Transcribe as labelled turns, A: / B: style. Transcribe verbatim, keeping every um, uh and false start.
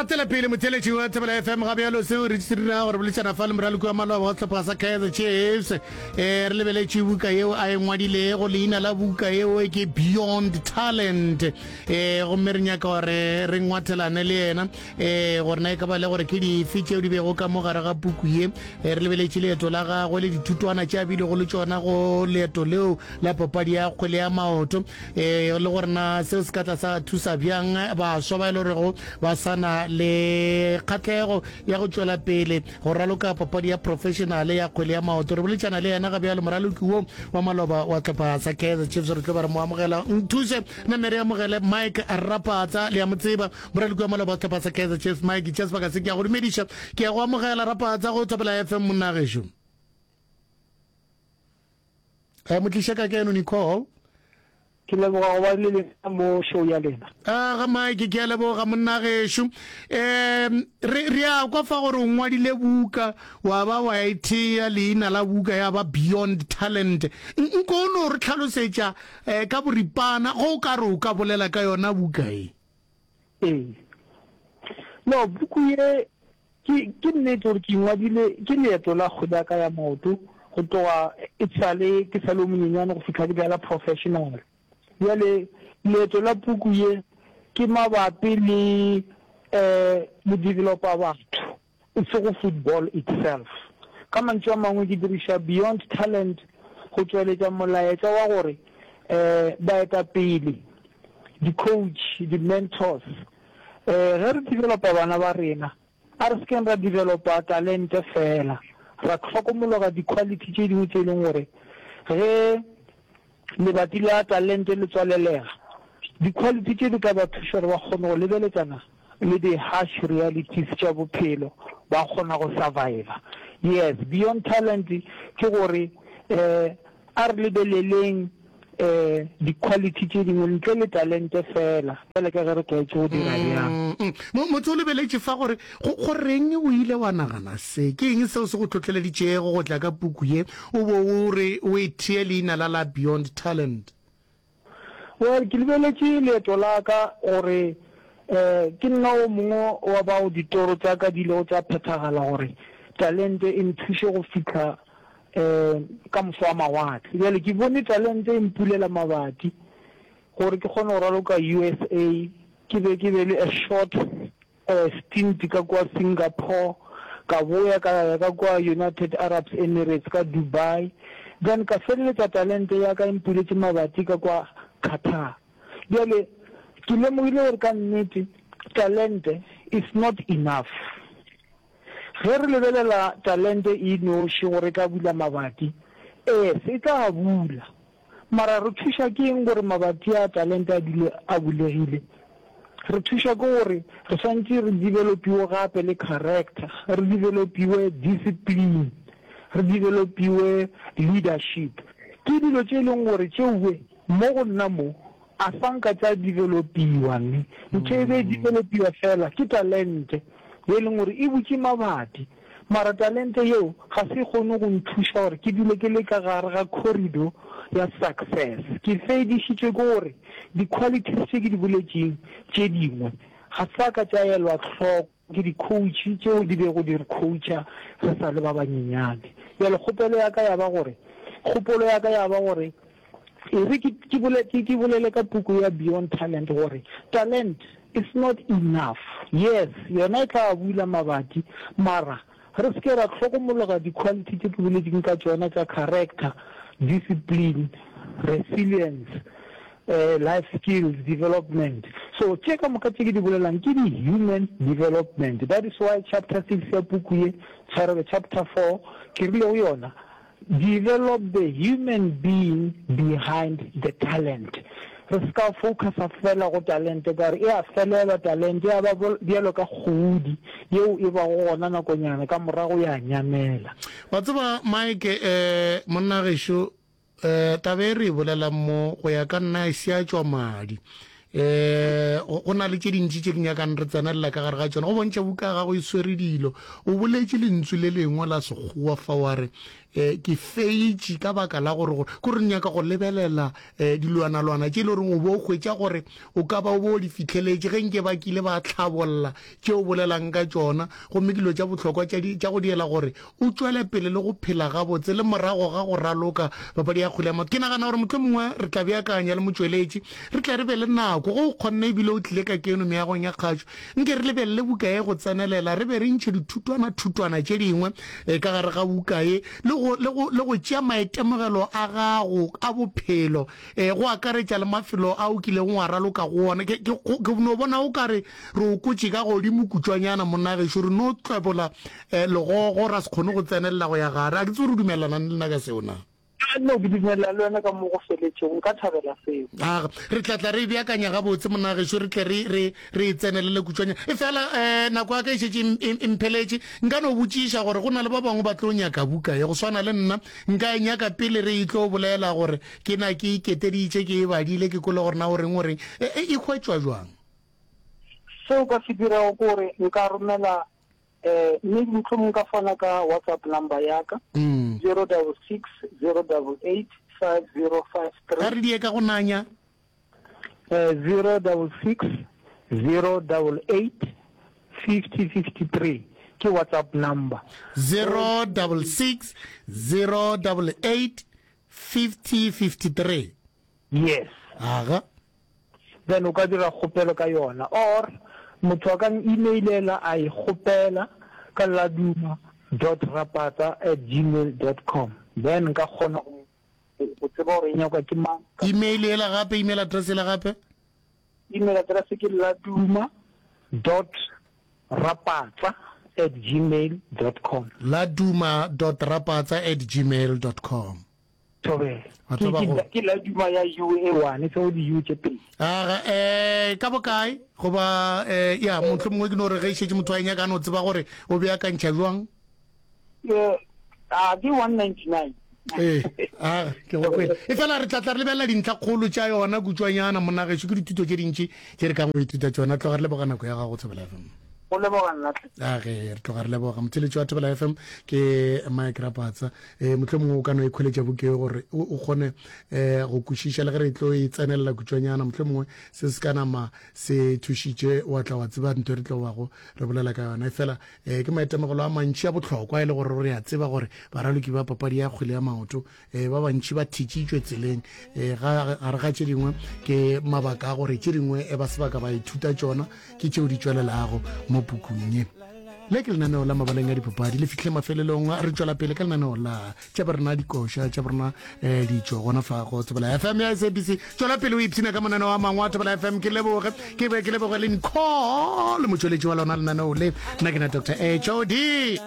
A: Gatela pele motheletši wa Thobela F M ga bjalo seo re se dirago gore boledišana fa le moraloki wa maloba wa sehlopha sa Kaizer Chiefs. Eh, re lebeletše buka yeo a e ngwadilego, leina la buka yeo ke Beyond Talent. Eh, gomme re nyaka gore re ngwathelane le yena eh, gore na e ka ba le gore ke dife tšeo di bego ka mo gare ga puku ye. Eh, re lebeletše leeto la gagwe le dithutwana tše a bilego le tšona go leeto leo la papadi ya kgwele ya maoto, eh, le gore na seo se ka tla sa thusa bjang baswa ba e le gorego ba sa na le kgatlego ya go tšwela pele go raloka papadi ya professionale ya kgwele ya maoto. Re boletšana le yena ga bjalo, moraloki wo wa maloba wa tlhopha sa Kaizer Chiefs. Re tlo ba re mo amogela. Nthuse name re amogele Mike Rapatsa, le ya mo tseba, moraloki wa maloba wa tlhopha sa Kaizer Chiefs. Mike, tša sebaka se ke ya go dumediša, ke ya go amogela Rapatsa go Thobela F M monna gešo. Eh, motliša ka keno Nicole.
B: Ke leboga go ba le lena mo show ya lena.
A: A ga Mike, ke a leboga monna gešo. Um, re, re a kwa fa gore o ngwadile buka, wa ba wa e thea leina la buka ya ba Beyond Talent. Nko o no re tlhalosetša eh, ka boripana go o ka re o ka bolela ka yona buka e?
B: Ee. No, buku ye ke, ke nnete gore ke ngwadile ke leeto la kgwele ya ka ya maoto go tloga e sale ke sa le o monyenyane go fihla ke dlala professional. Bjale leeto la puku ye ke mabapi le eh go developa batho, e sego football itself. Ka mantšu a mangwe ke diriša Beyond Talent go tšweletša molaetša wa gore eh baetapele, di-coach, di-mentors, eh ge re developa bana ba rena, a re sekeng ra developa talente fela, ra hlokomologa di-quality tše dingwe tše e leng gore ge lebati la talente le tswalelega, di-quality tše di ka ba thuša gore ba kgone go lebeletšana le di-harsh realities tša bophelo, ba kgona go survive. Yes, Beyond Talent ke gore eh a re lebeleleng eh di-quality tše dingwe ntle le talente fela, bjale ka ge re tlwaetše go dira bjang.
A: Mm, mm. Motho o lebeletše fa gore go, go reng o ile wa nagana se? Ke eng seo se go tlotleleditšego go tla ka puku ye o bo o re o e thee leina la la Beyond Talent?
B: Well, ke lebeletše leeto la ka gore eh ke nna o mongwe wa bao ditoro tša ka di ilego tša phethagala gore talente e nthuše go fihla eh ka moso wa mawatle. Bjale ke bone talente e mpulela mabati gore ke kgone go raloka U S A, ke be ke be le a short eh stint ka kwa Singapore, ka boya ka ya ka kwa United Arab Emirates ka Dubai, then ka feleletša talente ya ka e mpuletše mabati ka kwa Qatar. Bjale ke lemogile gore ka nnete talente is not enough. Ge re lebelela talente e noši gore e ka bula mabati, ee, se e tla bula. Mara re thuša ke eng gore mabati a talente a dule a bulegile? Re thuša ke gore re swantše re developiwe gape le character, re developiwe discipline, re developiwe leadership. Ke dilo tše e leng gore tšeoe mo go nna mo a sa nka tša developiwa, ne ntho e be e developiwa fela ke talente ye leng gore e butše mabati, mara talente yeo ga se kgone go nthuša gore ke dule ke le ka gare ga corridor ya success. Ke fedišitšwe ke gore di-qualities tše ke di boletšeng tše dingwe ga sa ka tša elwa hloko ke di-coach tšeo di bego di re coacha re sa le ba banyenyane. Bjale kgopelo ya ka ya ba gore, kgopolo ya ka ya ba gore e re ke, ke bole, ke, ke bolele ka puku ya Beyond Talent gore talent is not enough. Yes, yona e tla bula mabati, mara re se ke ra hlokomologa di-quality tše ke boletšeng ka tšona tša character, discipline, resilience, eh, life skills development. So tše ka moka tše ke di bolelang ke di-human development. That is why chapter six ya puku ye, tshwarelo, chapter four, ke rile go yona, develop the human being behind the talent. Re se ka focusa fela go talente ka gore e a felela talente, ya ba bjalo ka kgodi yeo e bago gona nakonyana ka morago ya nyamela.
A: Wa tseba Mike, eh, monna gešo, eh, taba e re e bolelang mo go ya ka nna e se ya tšwa madi. Eh, go na le tše dintši tše di nyakang re tsenelela ka gare ga tšona. Go bontšha buka ya gago e swere dilo. O boletše lentswe le lengwe la Sekgowa fa wa re, um ke feitše ka baka la gore gore ko re nyaka go lebelela um dilwanalwana tše e le goreng o bo o hwetša gore o ka ba o bo o di fihleletše ge nke ba kile ba tlhabolla tše o bolelang ka tšona gomme ke dilo tša bohlokwa tša di tša go diela gore o tšwele pele le go phela gabotse le morago ga go raloka papadi ya kgwele ya maoto. Ke nagana gore mohlomongwe re tla beakanya le motšweletši, re tle re be le nako, ge o kgonne ebile o tlile ka keno meagong ya kgašo, nke re lebelele buka ye go tsenelela, re be re ntšhe dithutwana-thutwana tše dingwe ka gare ga buka ye, le go, le go, le go tšea maitemogelo a gago a bophelo, go akaretša le mafelo a o kilego wa raloka go ona. Ke, ke, ke no bona o ka re re o kotše ka godimo kutšwanyana, monna gešo, re no tlwebola eh, legogo ra se kgone go tsenelela go ya gare. A ke tsebe gore o dumelelana le nna ka seo na?
B: A no, ke dumelelana le wena ka mo go feletšego. Nka thabela seo.
A: Aga, re tla tla re e beakanya gabotse, monna gešo, re tle re, re, re e tsenelele kutšwanyana. Efela, eh, nako ya ka e šetše e, e, e mpheletše. Nka no botšiša gore go na le ba bangwe ba tlo nyaka buka ye, go swana le nna. Nka e nyaka pele re e tlo bolela gore ke na ke iketeditše, ke e badile, ke kwele gore na o reng, o reng. E, e, e hwetšwa bjang?
B: Seo ka se dirago ke gore nka romela eh maybe mohlomong nka fana ka WhatsApp number ya ka zero double six zero double eight five zero five three.
A: A re die ka go nanya.
B: Eh zero double six zero double eight fifty fifty three ke WhatsApp number.
A: Zero double six zero double eight fifty fifty three.
B: Yes.
A: Aga.
B: Then o ka dira kgopelo ka yona or motho a ka n-emailela a e kgopela ka laduma dot rapatsa at gmail dot com then nka kgona go go tseba gore e nyakwa ke mang ka
A: Email yela gape, email address yela gape.
B: Email address ke laduma dot rapatsa at gmail dot com.
A: Laduma dot rapatsa at gmail dot com.
B: Thobela.
A: Ba tlo ba
B: Ke,
A: go.
B: ke, ke la duma ya U e one, e sego di-U tše pedi.
A: Aga, eh, ka bokae? Goba, eh, ya, mohlomongwe ke no re ge e šetše motho a e nyaka a no tseba gore o beakantšha bjang.
B: Eh, a ke one ninety nine.
A: Ee, aga, ke go kwele. Efela re tla tla re lebelela dintlhakgolo tša yona kutšwanyana, monna gešo, ke dithuto tše dintši tše re kang go ithuta tšona. Tloga re leboga nako ya gago, Thobela F M.
B: Go leboga nna hle.
A: A ge re tloga re leboga motheletši wa Thobela F M ke Mike Rapatsa. E, mohlomongwe o ka no ikhweletša buka ye gore o, o kgone e, go kwešiša le ge re tlo e tsenelela kutšwanyana. Mohlomongwe se se ka nama se thušitše wa tla wa tseba ntho e re tlo bago re bolela ka yona. Efela e, ke maitemogelo a mantši a bohlokwa e le gore re a tseba gore baraloki ba papadi ya kgwele ya maoto e, ba bantši ba thitšitšwe tseleng e, ga, gare ga tše dingwe ke mabaka a gore tše dingwe e ba se ba ka ba ithuta tšona ke tšeo di tšwelelago mo pukung ye. Le ke lenaneo la mabaleng a dipapadi le fihle mafelelong. Re tšwela pele ka lenaneo la tša borena dikoša tša borena eh, ditšo gona fa go Thobela F M ya S A B C. Tšwela pele o ipshina ka mananeo a mangwe a Thobela F M. Ke leboge, ke be ke leboge le Nicole motšweletši wa lona lenaneo le. Nna ke na Doctor H O D.